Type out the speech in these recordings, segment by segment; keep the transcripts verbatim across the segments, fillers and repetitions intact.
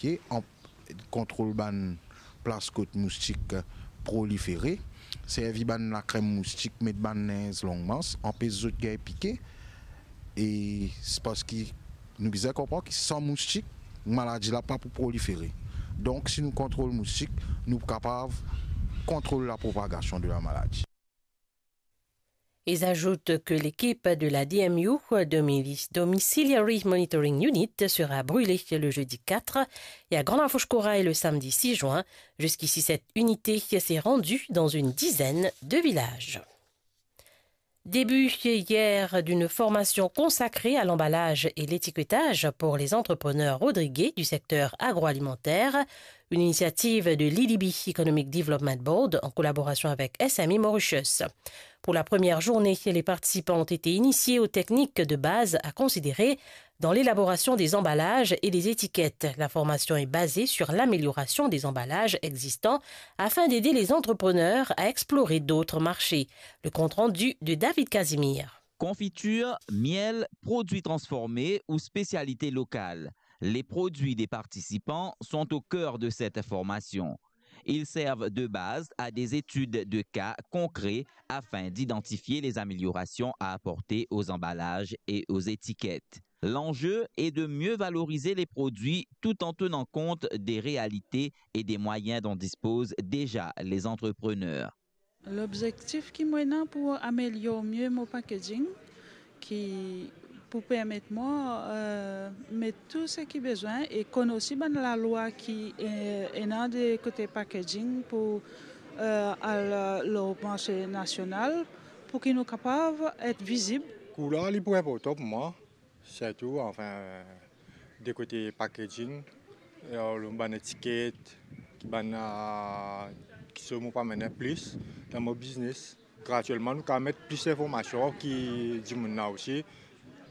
Ki an kontrol bann plas kot moustik prolifere, servi bann lakrem moustik, met bann linz long mans, anpes zot gagn pike. E se parski nou bizin konpran ki san moustik, maladi la pa pou prolifere. Donk, si nou kontrol moustik, nou pou kapav kontrol lapropagasion de lamaladi. Ils ajoutent que l'équipe de la D M U, Domi-, Domiciliary Monitoring Unit, sera brûlée le jeudi quatre et à Grande Arche Corail le samedi six juin. Jusqu'ici, cette unité s'est rendue dans une dizaine de villages. Début hier d'une formation consacrée à l'emballage et l'étiquetage pour les entrepreneurs rodriguais du secteur agroalimentaire, une initiative de l'I D B Economic Development Board en collaboration avec S M E Mauritius. Pour la première journée, les participants ont été initiés aux techniques de base à considérer dans l'élaboration des emballages et des étiquettes. La formation est basée sur l'amélioration des emballages existants afin d'aider les entrepreneurs à explorer d'autres marchés. Le compte-rendu de David Casimir. Confiture, miel, produits transformés ou spécialités locales, les produits des participants sont au cœur de cette formation. Ils servent de base à des études de cas concrets afin d'identifier les améliorations à apporter aux emballages et aux étiquettes. L'enjeu est de mieux valoriser les produits tout en tenant compte des réalités et des moyens dont disposent déjà les entrepreneurs. Lobzektif ki mo ena pou amelior mie mo packaging, ki pou permet mwa, eh, met tou seki bizin e konn osi bann lalwa ki, eh, ena de kote packaging pou, eh, al lor marse nasional, pou ki nou kapav et vizib. Kouler li pou inportan pou mwa. Sirtou, anfin, de kote packaging, e bann etiket, ki bann, ah, ki so mo pou amenn plis dan mo biznes. Gratuelman, nou kapav met plis linformasion ki dimoun la osi,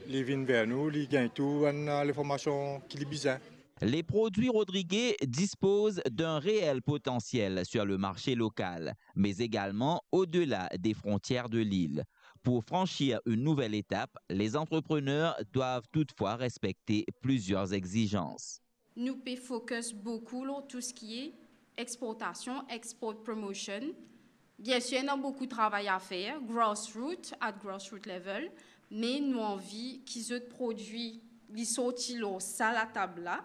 li vinn ver nou, li gagn tou bann, ah, linformasion ki li bizin. Les produits rodriguais disposent d'un réel potentiel sur le marché local, mais également au-delà des frontières de l'île. Pour franchir une nouvelle étape, les entrepreneurs doivent toutefois respecter plusieurs exigences. Nou pe focus boukou lor tou seki exportasion, export promotion. Bien sûr, il y a beaucoup de travail à faire, grassroots, at grassroots level, me nou anvi ki zot prodwi li sorti lor sa latab la,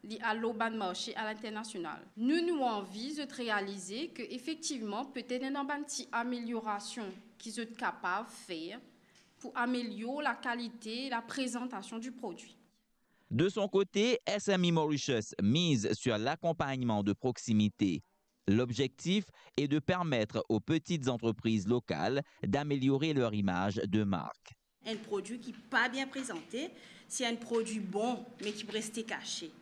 li al lor bann marse alinternasional. Nou, nou anvi zot realize ke efektivman, petet ena bann ti ameliorasion ki zot kapav fer pou amelior lakalite, laprezantasion di prodwi. De son côté, S M E Mauritius mise sur l'accompagnement de proximité. L'objectif est de permettre aux petites entreprises locales d'améliorer leur image de marque. Enn prodwi ki pa bien prezante, se enn prodwi bon, me ki pou reste kase.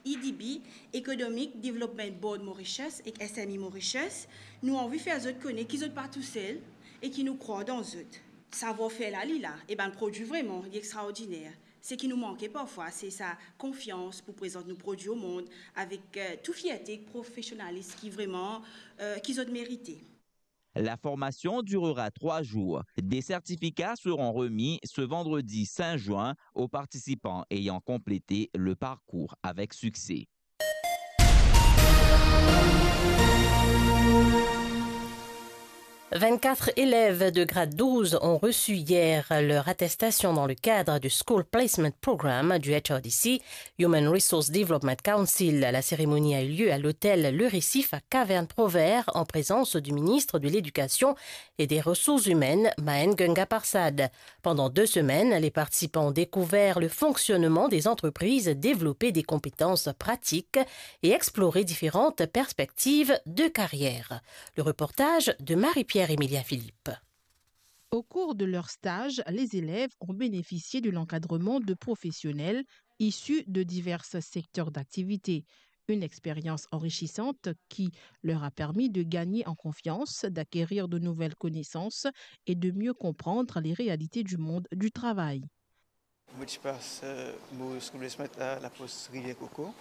E D B, Economic Development Board Mauritius ek S M E Mauritius, nou anvi fer zot kone ki zot pa tousel e ki nou krwar dan zot. Savwar-fer la, li la, e bann prodwi vreman, li extraordiner. Seki nou manke parfwa, se sa konfians pou prezant nou prodwi o mond avek, eh, tou fierte ek profesionalis ki vreman, eh, ki zot merite. La formation durera trois jours. Des certificats seront remis ce vendredi cinq juin aux participants ayant complété le parcours avec succès. Vingt-quatre élèves de grade douze ont reçu hier leur attestation dans le cadre du School Placement Program du H R D C, Human Resource Development Council. La cérémonie a eu lieu à l'hôtel Le Récif à Caverne Provert en présence du ministre de l'Éducation et des Ressources Humaines, Maen Gungaparsad. Pendant deux semaines, les participants ont découvert le fonctionnement des entreprises, développé des compétences pratiques et exploré différentes perspectives de carrière. Le reportage de Marie-Pierre Emilien Philippe. Au cours de leur stage, les élèves ont bénéficié de l'encadrement de professionnels issus de divers secteurs d'activité. Une expérience enrichissante qui leur a permis de gagner en confiance, d'acquérir de nouvelles connaissances et de mieux comprendre les réalités du monde du travail. Mo ti pas, eh, mo school placement a lapos Rivière Coco.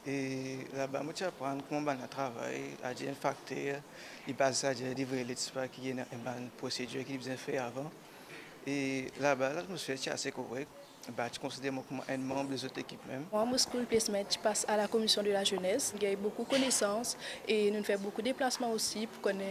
E laba mo ti aprann kouma bann la travay, adir enn fakter, li pas adir livre lets pa ki ena enn bann prosedir ki li bizin fer avan. E laba, latmosfer ti ase korek. Ba, ti konsider mwa kouma enn manb lezot lekip mem. Mwa, mo school placement ti pas a la Commission de la Jeunesse. Gagn boukou konesans e nou fer boukou deplasman osi pou kone